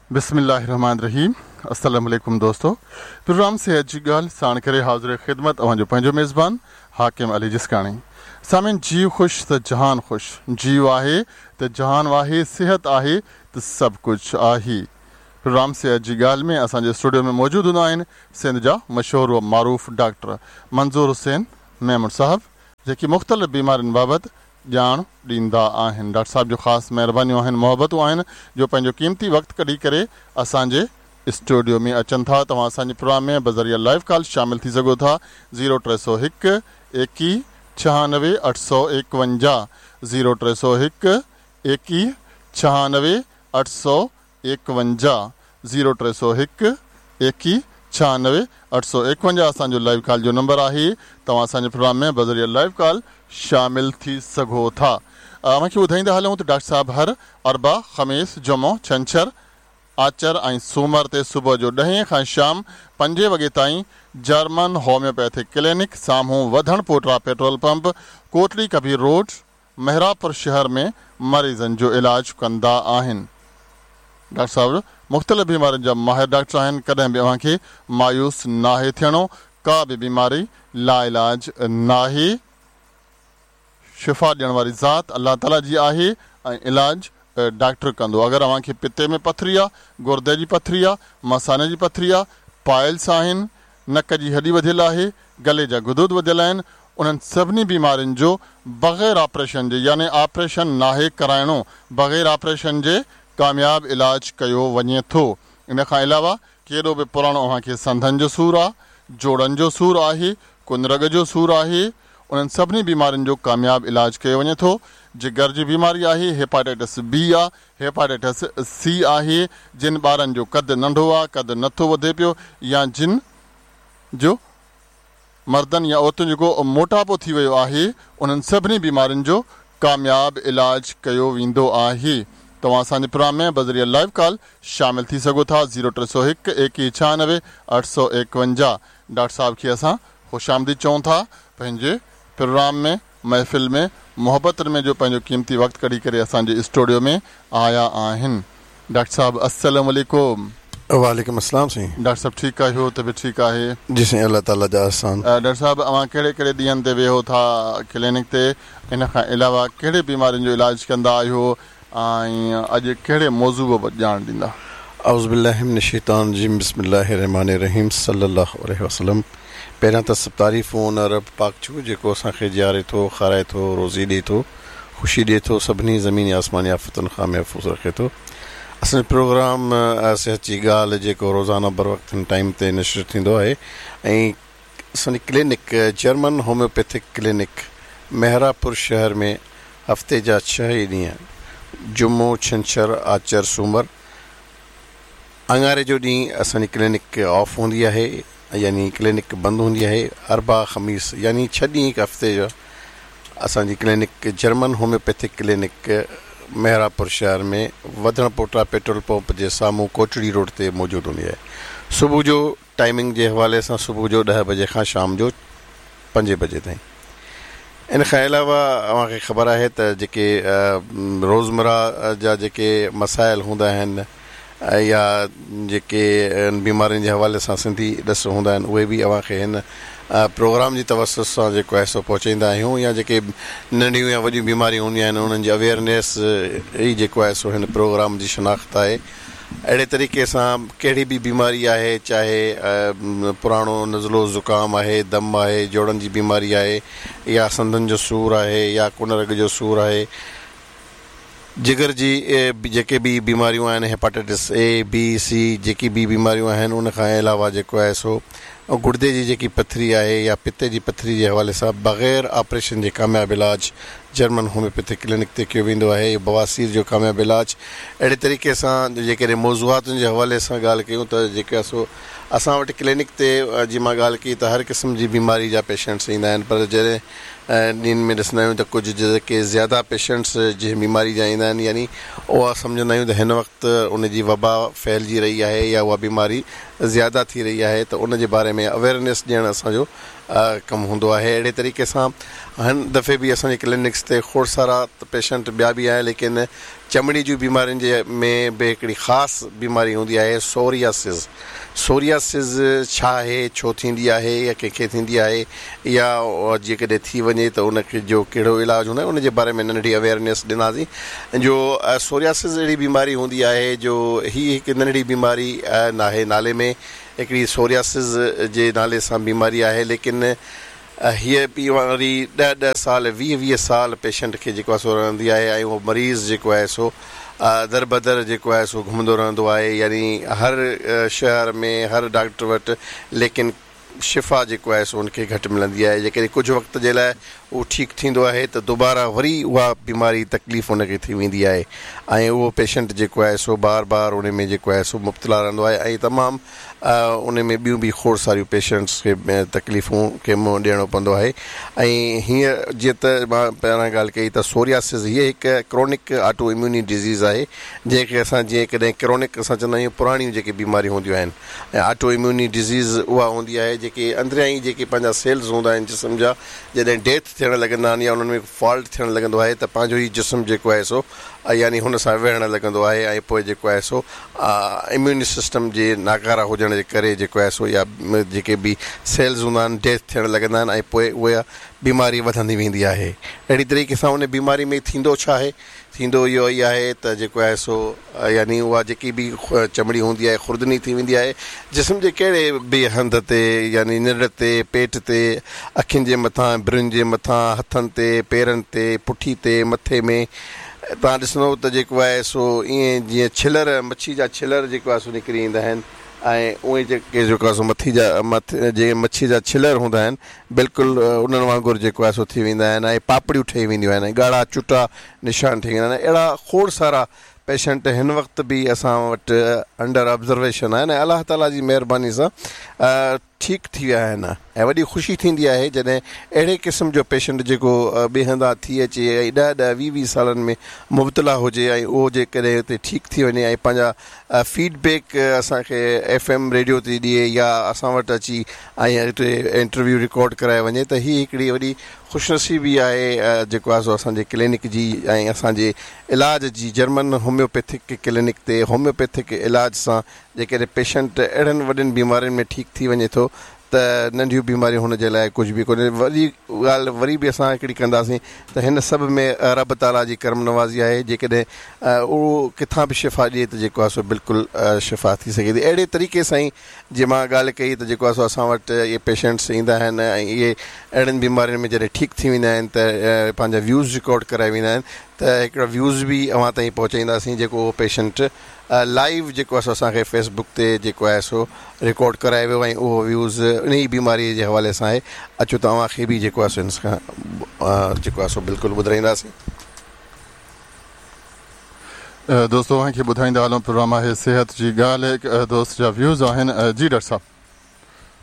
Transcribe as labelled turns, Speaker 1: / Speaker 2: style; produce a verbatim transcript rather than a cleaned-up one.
Speaker 1: बिस्मिल्लाहिर्रहमानिर्रहीम। अस्सलाम वालेकुम दोस्तों, प्रोग्राम सेहत जी ॻाल्हि साण करे हाज़िर ख़िदमत अव्हां जो पंहिंजो मेज़बान हाकिम अली जिस्काणी। सामीन, जीव ख़ुशि त जहान ख़ुशि, जीव आहे त जहान आहे, सिहत आहे त सभु कुझु आहे। प्रोग्राम सेहत जी ॻाल्हि में असांजे स्टूडियो में मौजूदु हूंदा आहिनि सिंध जा मशहूर व मारूफ़ डॉक्टर मंज़ूर हुसैन मेमण साहब, जेके मुख़्तलिफ़ बीमारियुनि बाबति ॼाण ॾींदा आहिनि। डॉक्टर साहब जो ख़ासि महिरबानियूं आहिनि, मोहबतूं आहिनि जो पंहिंजो क़ीमती वक़्तु कढी करे असांजे स्टूडियो में अचनि था। तव्हां असांजे प्रोग्राम में बज़रिया लाइव कॉल शामिल थी सघो था। ज़ीरो टे सौ हिकु एकवीह छहानवे अठ सौ एकवंजाह, ज़ीरो टे सौ हिकु एकवीह छहानवे अठ सौ एकवंजाह, ज़ीरो टे सौ हिकु एकवीह छहानवे अठ सौ एकवंजाह असांजो लाइव कॉल जो नंबर आहे। तव्हां असांजे प्रोग्राम में बज़रिया लाइव कॉल शामिल थी सघो था। मूंखे ॿुधाईंदा हलूं त डॉक्टर साहब हर अरबा, ख़मीस, जुमो, छंछर, आचर ऐं सूमर ते सुबुह जो ॾहें खां शाम पंजे वॻे ताईं जर्मन होम्योपैथिक क्लिनिक साम्हूं वधण पोटरा petrol pump, Kotli Kabir road, Mehrapur शहर में मरीज़नि जो इलाज कंदा आहिनि। डॉक्टर साहब मुख़्तलिफ़ बीमारियुनि जा माहिर डॉक्टर आहिनि, कॾहिं बि अव्हांखे मायूस नाहे थियणो। का बि बीमारी लाइलाज नाहे। शिफ़ा ॾियण वारी ज़ात अलाह ताला जी आहे ऐं इलाज डॉक्टर कंदो। अगरि अव्हांखे पित्ते में पथरी आहे, गुर्दे जी पथरी आहे, मसाने जी पथरी आहे, पाइल्स आहिनि, नक जी हॾी वधियल आहे, गले जा गुदूद वधियल आहिनि, उन्हनि सभिनी बीमारियुनि जो बग़ैर ऑपरेशन जे, यानी ऑपरेशन नाहे कराइणो, बग़ैर ऑपरेशन जे कामयाब इलाज कयो वञे थो। इन खां अलावा केॾो बि पुराणो अव्हांखे संधनि जो सूर आहे, जोड़नि जो सूर आहे, कुनरग जो सूर आहे, उन्हनि सभिनी बीमारियुनि जो कामयाब इलाज कयो वञे थो। जिगर जी बीमारी आहे, हेपाटाइटिस बी आहे, हेपाटाइटिस सी आहे, जिन ॿारनि जो क़दु नंढो आहे, क़दु नथो वधे पियो, या जिन जो मर्दनि या औरतुनि जेको मोटापो थी वियो आहे, उन्हनि सभिनी बीमारियुनि जो कामयाब इलाज कयो वेंदो आहे। तव्हां असांजे प्रोग्राम में बज़रिया लाइव कॉल शामिल थी सघो था। ज़ीरो टे सौ हिकु एकवीह छहानवे अठ सौ एकवंजाह। डॉक्टर साहब खे असां ख़ुशि आमदीद चऊं था पंहिंजे प्रोग्राम में, महफ़िल में, मोहब्बतुनि में जो पंहिंजो क़ीमती वक़्तु कढी करे असांजे स्टूडियो में आया आहिनि। डॉक्टर साहब अस्सलाम वालेकुम।
Speaker 2: वालेकुम अस्सलाम साईं।
Speaker 1: डॉक्टर साहब ठीकु आहियो? तबियत ठीकु आहे?
Speaker 2: जी साईं, अलाह ताला जा एहसान।
Speaker 1: डॉक्टर साहब अव्हां कहिड़े कहिड़े ॾींहनि ते वेहो था क्लिनिक ते? इन खां अलावा कहिड़े बीमारियुनि जो इलाज कंदा आहियो ऐं अॼु कहिड़े मौज़ू बाबति ॼाण ॾींदा?
Speaker 2: औज़ु बिल्लाहि मिनश शैतानिर रजीम, बिस्मिल्लाहिर्रहमानिर्रहीम, सल्लल्लाहु अलैहि वसल्लम। पहिरियां त सभु तारीफ़ूं उन रब पाक जूं जेको असांखे जीआरे थो, खाराए थो, रोज़ी ॾिए थो, ख़ुशी ॾिए थो, सभिनी ज़मीनी आसमानी आफ़तुनि खां महफ़ूज़ रखे थो। असांजो प्रोग्राम सिहत जी ॻाल्हि जेको रोज़ाना बर वक़्त हिन टाइम ते नशर थींदो आहे ऐं असांजी clinic German homeopathic clinic Mehrabpur शहर में हफ़्ते जा छह ई ॾींहं, जुमो, छंछर, आचर, सूमर, अंगारे जो ॾींहुं असांजी क्लिनिक ऑफ हूंदी आहे, यानी क्लिनिक बंदि हूंदी आहे। अरबा, ख़मीस, यानी छह ॾींहं हिकु हफ़्ते जो असांजी clinic German homeopathic clinic Mehrabpur शहर में वधण पोटा पेट्रोल पंप जे साम्हूं कोटड़ी रोड ते मौजूदु हूंदी आहे। सुबुह जो टाइमिंग जे हवाले सां सुबुह जो ॾह बजे खां शाम जो पंजे बजे ताईं। इन खां अलावा अव्हांखे ख़बर आहे त जेके रोज़मरा जा जेके मसाइल हूंदा आहिनि या जेके बीमारियुनि जे हवाले सां सिंधी ॾस हूंदा आहिनि, उहे बि अव्हांखे हिन प्रोग्राम जी तवसुत सां जेको आहे सो पहुचाईंदा आहियूं। या जेके नंढियूं या वॾियूं बीमारियूं हूंदियूं आहिनि उन्हनि जी अवेयरनेस ई जेको आहे सो हिन प्रोग्राम जी शनाख़्त आहे। अहिड़े तरीक़े सां कहिड़ी बि बीमारी आहे, चाहे पुराणो नज़लो ज़ुकाम आहे, दम आहे, जोड़नि जी बीमारी आहे, या संधनि जो सूर आहे, या कुनरग जो सूर आहे, जिगर जी जेके बि बीमारियूं आहिनि, हेपाटाइटिस ए, बी, सी जेकी बि बीमारियूं आहिनि, उन खां अलावा जेको आहे सो गुर्दे जी जेकी पथरी आहे या पित्ते जी पथरी जे हवाले सां बग़ैर ऑपरेशन जे कामयाबु इलाज जर्मन होम्योपैथिक क्लिनिक ते कयो वेंदो आहे। बवासीर जो कामयाबु इलाज। अहिड़े तरीक़े सां जेकॾहिं मौज़ूआतुनि जे हवाले सां ॻाल्हि कयूं त जेका सो असां वटि क्लिनिक ते जी मां ॻाल्हि कई त हर क़िस्म जी बीमारी जा पेशेंट्स ईंदा आहिनि, पर जॾहिं ॾींहंनि में ॾिसंदा आहियूं त कुझु जेके ज़्यादा पेशेंट्स जंहिं बीमारी जा ईंदा आहिनि, यानी उहा सम्झंदा आहियूं त हिन वक़्तु उन जी वबा फैलिजी रही आहे या उहा बीमारी ज़्यादा थी रही आहे, त उन जे बारे में अवेयरनेस ॾियणु असांजो ڪم هوندو آهي. اهڙي طريقي سان هن دفعي به اسان جي ڪلينڪس تي کوڙ سارا پيشنٽ ٻيا به آهن، ليڪن چمڙي جون بيمارين جي ۾ به هڪڙي خاص بيماري هوندي آهي سورياسز. سورياسز ڇا آهي، ڇو ٿيندي آهي يا ڪنهن کي ٿيندي آهي يا جيڪڏهن ٿي وڃي ته ان جو ڪهڙو علاج هوندو آهي، ان جي باري ۾ ننڍڙي اويئرنيس ڏناسين. جو سورياسز اهڙي بيماري هوندي آهي جو هي هڪ ننڍڙي بيماري ناهي، نالي ۾ هڪڙي سورياسز جي نالي سان بيماري آهي، ليڪن هيءَ بيماري ڏهه ڏهه سال ويهه ويهه سال پيشنٽ کي جيڪو آهي سو رهندي آهي ۽ اهو مريض جيڪو آهي سو در بدر جيڪو آهي سو گهمندو رهندو آهي، يعني هر شهر ۾ هر ڊاڪٽر وٽ، ليڪن شفا جيڪو آهي سو ان کي گهٽ ملندي آهي. جيڪڏهن ڪجهه وقت جي لاءِ اهو ٺيڪ ٿيندو آهي ته دوباره وري اها بيماري تڪليف ان کي ٿي ويندي آهي ۽ اهو پيشنٽ جيڪو آهي سو بار بار ان ۾ جيڪو آهي سو مبتلا رهندو آهي ۽ تمام ان ۾ ٻيون به کوڙ ساريون پيشنٽس کي تڪليفون کي منهن ڏيڻو پوندو آهي. ۽ هيئن جيئن ته مان پهريان ڳالهه ڪئي ته سورياسز هيءَ هڪ ڪرونڪ آٽو اميوني ڊزيز آهي، جنهن کي اسان جيئن ڪڏهن ڪرونڪ اسان چوندا آهيون پراڻيون جيڪي بيماريون هونديون آهن، ۽ آٽو اميوني ڊزيز اها هوندي آهي جيڪي اندريان ئي جيڪي پنهنجا سيلز هوندا آهن جسم جا، جڏهن ڊيٿ ٿيڻ لڳندا آهن يا انهن ۾ فالٽ ٿيڻ لڳندو آهي ته پنهنجو ئي جسم جيڪو آهي سو يعني هن سان وڙهڻ لڳندو آهي ۽ پوءِ جيڪو آهي سو اميون سسٽم جي ناڪاره هجڻ جي ڪري جيڪو آهي سو يا جيڪي به سيلز هوندا آهن ڊيٿ ٿيڻ لڳندا آهن ۽ پوءِ اها بيماري وڌندي ويندي آهي. اهڙي طريقي سان ان بيماري ۾ ٿيندو ڇا آهي، ٿيندو اهو ئي آهي ته جيڪو آهي سو يعني اها جيڪي به چمڙي هوندي آهي خوردني ٿي ويندي آهي جسم جي ڪهڙي به هنڌ تي، يعني ننڊ تي، پيٽ تي، اکين جي مٿان، برن جي مٿان، هٿن تي، پيرن تي، پٺي تي، مٿي ۾ توهان ڏسندو ته جيڪو آهي سو ائين جيئن ڇلر مڇي جا ڇلر جيڪو آهي سو نڪري ايندا آهن ۽ اهي جيڪي جيڪو آهي سو مٿي جا مٿي جيئن مڇي جا ڇلر هوندا آهن بلڪل انهن وانگر جيڪو آهي سو ٿي ويندا آهن ۽ پاپڙيون ٺهي وينديون آهن ۽ ڳاڙها چٽا نشان ٺهي ويندا آهن. اهڙا کوڙ سارا پيشنٽ هن وقت به اسان وٽ انڊر آبزرويشن آهن ۽ الله تعاليٰ جي مهرباني سان ٺيڪ ٿي ويا آهن ۽ وڏي خوشي ٿيندي آهي جڏهن اهڙي قسم جو پيشنٽ جيڪو ٻئي هنڌان ٿي اچي ۽ ڏهه ڏهه ويهه ويهه سالن ۾ مبتلا هجي ۽ اهو جيڪڏهن هتي ٺيڪ ٿي وڃي ۽ پنهنجا فيڊ بيڪ اسان کي ايف ايم ريڊيو تي ڏئي يا اسان وٽ اچي ۽ هتي انٽرويو رڪارڊ ڪرائي وڃي ته هيءَ هڪڙي وڏي خوش نصيبي آهي جيڪو آهي سو اسان جي ڪلينڪ جي ۽ اسان جي علاج جي. جرمن هوميوپيٿڪ ڪلينڪ تي هوميوپيٿڪ علاج سان جيڪڏهن پيشنٽ اهڙن وڏين بيمارين ۾ ٺيڪ ٿي وڃي ٿو ته ننڍيون بيماريون هن جي لاءِ ڪجهه به ڪونهي. وڏي ڳالهه وري به اسان هڪڙي ڪنداسين ته هن سڀ ۾ رب تعاليٰ جي ڪرم نوازي آهي، جيڪڏهن اهو ڪٿان به شفا ڏئي ته جيڪو آهي سو بلڪل شفا ٿي سگهي ٿي. اهڙي طريقي سان ئي جيئن مان ڳالهه ڪئي ته جيڪو آهي سو اسان وٽ اهي پيشنٽس ايندا آهن ۽ اهي اهڙن بيمارين ۾ جڏهن ٺيڪ ٿي ويندا آهن ته پنهنجا ويوز رڪارڊ ڪرائي ويندا آهن ته هڪڙا ويوز به اوهان تائين پهچائينداسين جيڪو اهو پيشنٽ لائيو جيڪو آهي سو اسان کي فيس بڪ تي جيڪو آهي سو رڪارڊ ڪرائي ويو ۽ اهو ويوز ان ئي بيماريءَ جي حوالي سان آهي. اچو ته اوهان کي به جيڪو آهي سو هن کان جيڪو آهي سو بلڪل ٻڌائينداسين.
Speaker 1: دوستو اوهان کي ٻڌائيندا هلون پروگرام آهي صحت جي ڳالهه. هڪ دوست جا ويوز آهن. جي ڊاڪٽر صاحب.